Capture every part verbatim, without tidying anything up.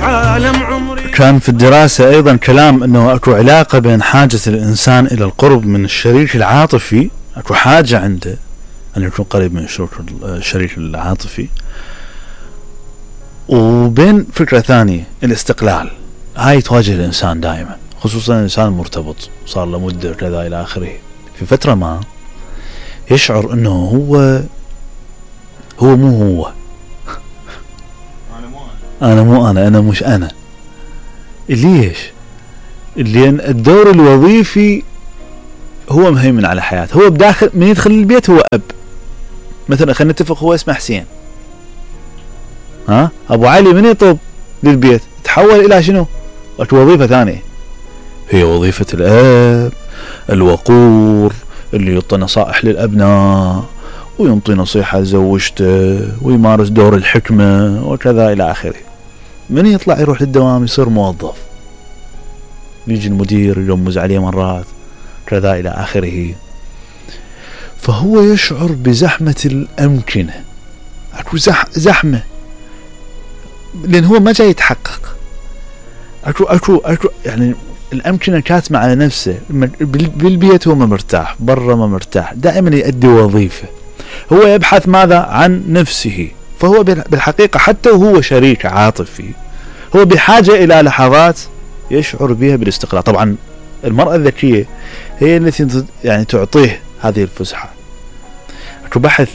عالم عمري. كان في الدراسة أيضا كلام أنه أكو علاقة بين حاجة الإنسان إلى القرب من الشريك العاطفي، أكو حاجة عنده أن يكون قريب من الشريك العاطفي، وبين فكرة ثانية الاستقلال. هاي تواجه الإنسان دائما، خصوصا الإنسان المرتبط صار له مدة كذا إلى آخره. في فترة ما يشعر أنه هو هو مو هو أنا مو أنا أنا مو أنا أنا مش أنا. ليش؟ لأن الدور الوظيفي هو مهيمن على حياته. هو بداخل من يدخل البيت هو أب، مثلا خلينا نتفق هو اسمه حسين، ها أبو علي من يطب للبيت تحول إلى شنو؟ وظيفة ثانية، هي وظيفة الأب الوقور اللي يعطي نصائح للأبناء وينطي نصيحة لزوجته ويمارس دور الحكمة وكذا إلى آخره. من يطلع يروح للدوام يصير موظف، يجي المدير يرمز عليه مرات كذا إلى آخره. فهو يشعر بزحمة الأمكنة، أكو زح زحمة لأن هو ما جاي يتحقق. أكو أكو أكو يعني الأمكنة كاتمة على نفسه. بالبيت هو ما مرتاح، برا ما مرتاح، دائما يؤدي وظيفة. هو يبحث ماذا؟ عن نفسه. فهو بالحقيقة حتى وهو شريك عاطفي هو بحاجة إلى لحظات يشعر بها بالاستقلال. طبعا المرأة الذكية هي التي يعني تعطيه هذه الفسحة. أكو بحث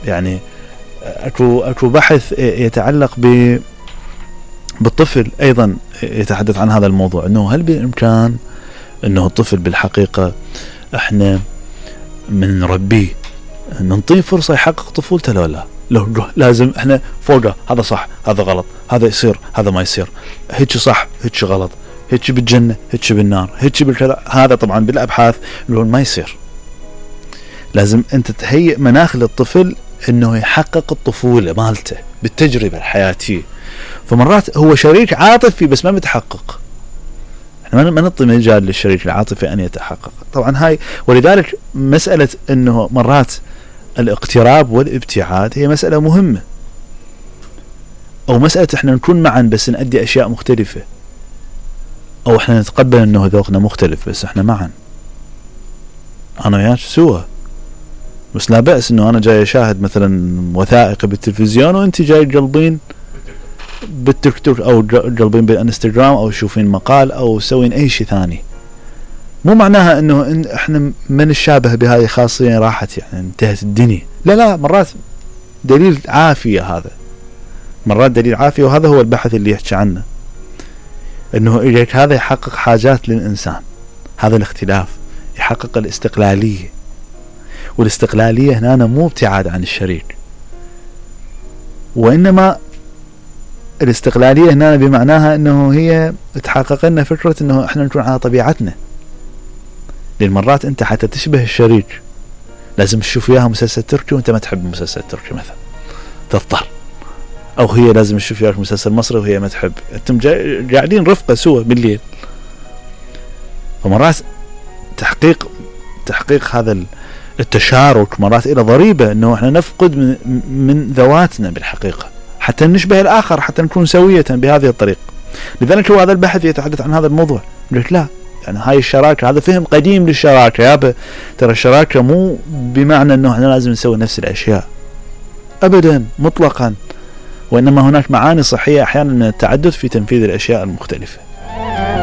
يعني أكو أكو بحث يتعلق ب بالطفل أيضا يتحدث عن هذا الموضوع، أنه هل بالإمكان أنه الطفل بالحقيقة إحنا من نربيه ننطيه فرصة يحقق طفولته لو لا؟ لو لازم إحنا فوقه هذا صح هذا غلط، هذا يصير هذا ما يصير، هيك صح هيك غلط، هيك بالجنة هيك بالنار هيك بالكذا. هذا طبعا بالأبحاث اللي ما يصير. لازم أنت تهيئ مناخ للطفل أنه يحقق الطفولة مالته بالتجربة الحياتية. فمرات هو شريك عاطفي بس ما متحقق، احنا ما نعطي مجال للشريك العاطفي ان يتحقق. طبعا هاي ولذلك مسألة انه مرات الاقتراب والابتعاد هي مسألة مهمة، او مسألة احنا نكون معا بس نأدي اشياء مختلفة، او احنا نتقبل انه ذوقنا مختلف بس احنا معا انا وياك سوا. بس لا بأس انه انا جاي اشاهد مثلا وثائقي بالتلفزيون وانت جاي تقلبين بالتيك توك او قلبين بالانستغرام او شوفين مقال او سوين اي شيء ثاني. مو معناها انه إن احنا ما نشابه بهذه خاصية راحت يعني انتهت الدنيا. لا لا، مرات دليل عافية، هذا مرات دليل عافية. وهذا هو البحث اللي يحكي عنه، انه إليك هذا يحقق حاجات للانسان. هذا الاختلاف يحقق الاستقلالية، والاستقلالية هنا مو ابتعاد عن الشريك، وانما الاستقلالية هنا بمعناها انه هي تحقق لنا فكرة انه احنا نكون على طبيعتنا. لان مرات انت حتى تشبه الشريك لازم تشوف وياها مسلسل تركي وانت ما تحب المسلسل التركي مثلا، تضطر. او هي لازم تشوف وياك مسلسل مصري وهي ما تحب، انتم قاعدين رفقة سوا بالليل. فمرات تحقيق تحقيق هذا التشارك مرات الى ضريبة انه احنا نفقد من, من ذواتنا بالحقيقة حتى نشبه الآخر، حتى نكون سوية بهذه الطريقة. لذلك هو هذا البحث يتحدث عن هذا الموضوع. قلت لا، يعني هاي الشراكة، هذا فهم قديم للشراكة يابا. ترى الشراكة مو بمعنى أنه احنا لازم نسوي نفس الأشياء أبدا مطلقا، وإنما هناك معاني صحية أحيانا من التعدد في تنفيذ الأشياء المختلفة.